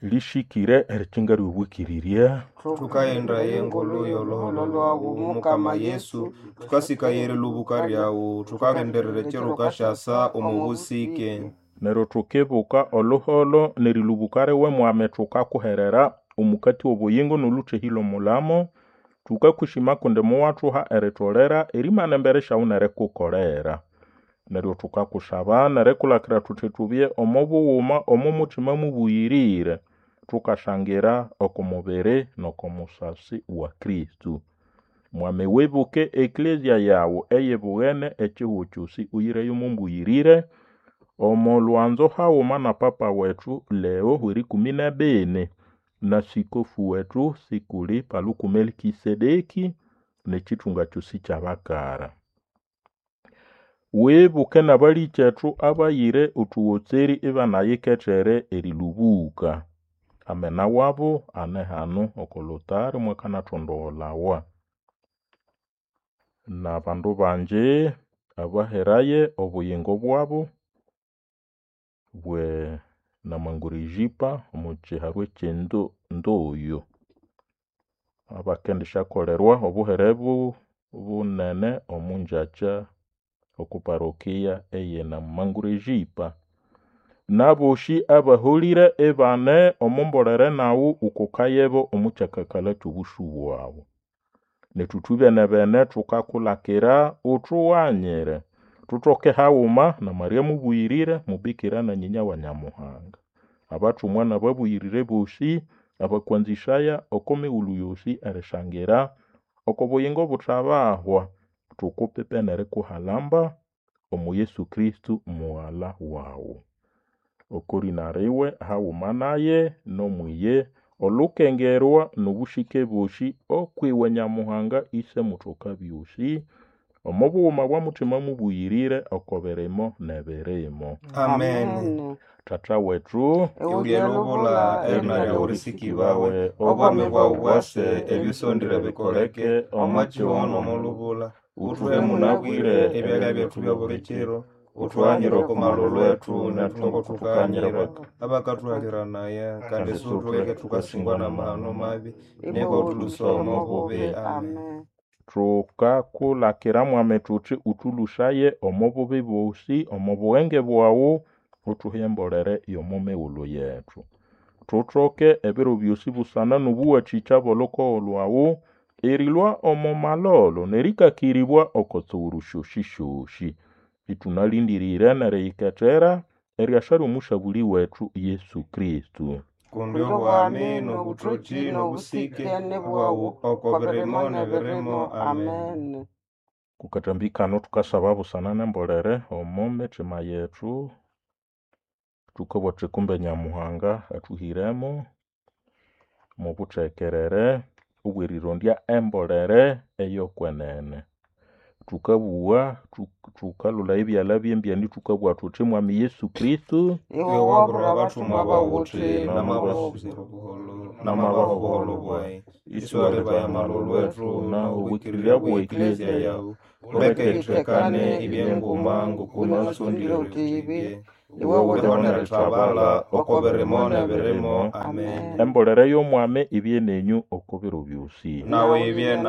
Lĩsĩkĩre erikinga ly'obwĩkĩrĩrya. Thukaghenda engulu y'olhuholho lhwawu Mukama Yesu, thukasikaya erilubuka lyawu, thukalindirira ekiro wukasyasa omo busike. Neryo thukibuka olhuholho n'erilubuka liwe Mwami thukakuherera omukati w'obuyingo n'olhuthehĩ lw'omulamo. Thukakushima kundi muwathuha eritolera erimana embere syawu n'erikukolera. Neryo thukakusaba n'erikulakira thuthi thubye omo bughuma omo muthima mubuyirire, thukashangira oko mubiri n'oko musasi wa Kristo. Mwami wibuke eklezia yawu eyibughene ekihugho kyosi uyireyo omo mbuyirire, omo lwanzo haghuma na Papa wethu Leo w'erikumi n'ebini, na Sikofu wethu Sikuli Paluku Melikisedeki, n'ekithunga kyosi ky'abakara. Wibuke n'abalĩkyethu abayire othugotseri ibanayikethere erilubuka. Amena wabo ane hano oko lotari mwakanathondogholawa. N'abandu bangi abaheraye obuyingo bwabo bwe Namangurejipa omo kiharwa eky'Endoyo, abakendisyakolerwa obuhere bunene omo ngyakya oko parokia eye Namangurejipa. N'abosi abaholire ibane omo mbolere naghu wukokayebo omo kyakakalha ky'obusu bwaghu. Nethu ithwibene-bene thukakulakira uthughanyire thuthoke haghuma na Maria mubuyirire mubikira na nyinya wa Nyamuhanga, abathumwa n'ababuyirire bosi abakwanzisaya oko mighulhu yosi erishangira oko buyingo obuthabahwa, thukupipe n'erikuhalamba omo Yesu Kristo mughalha waghu. Oko lina liwe haghuma naye n'omwiye olukengerwa n'obusike bosi okwiwe Nyamuhanga Ise muthoka-byosi, omo bughuma bwa Muthima Mubuyirire oko birimo n'ebirimo. Amen. Tata wethu Iwulye lubula erina lyawu lisikibawe, obwami bwawu bwase, ebisondire bikoleke, omo kihugho n'omo lubula. Uthuhe munabwire ebyalya byethu by'obuli kiro, uthughanyire oko malhulhu ethu nethu ngoko thukaghanyira abakathuhalhiranaya, kandi siwuthuleke thukasingwa n'amahano mabi, neke uthulhusaye omo bubi. Amen. Thukakulakira Mwami thuthi uthulhusaye omo bubi bosi, omo bughenge bwawu, uthuhe embolere y'omo mighulhu yethu. Thuthoke ebiro byosi busana n'obuwathikya bw'olhukogo lhwawu, erilhwa omo malholo n'erĩkakĩrĩbwa oko tsughuru syosisyosi. Ithunalĩndĩrĩre n'eriyikethera eriasa ly'Omusabulĩ wethu Yesu Kristo. Kundi obwami n'obuthoki n'obusike bwawu oko birimo n'ebirimo. Amen. Kukathambi kano thukasaba busana n'embolere omo mithima yethu, thukabugha thuthi kumbe Nyamuhanga athuhiremo mw'obuthekerere obw'erirondya embolere ey'okwenene. Thukabugha thukalolaya ebyalha by'embyani thukabugha thuthi Mwami Yesu Kristo, Iwe wabwira abathumwa bawu wuthi namabaha obuholho bwayi, isiwalibaya amalhulhu ethu n'obwikirirya bwe eklezia yawu, uleke ithekane ibyenguma ngokuna wasondire uthi ibye, iwe wuliho n'erithabala oko birimo n'ebirimo. Amen. Embolere y'Omwami ibye nenyu oko biro byosi. Nawe ibye.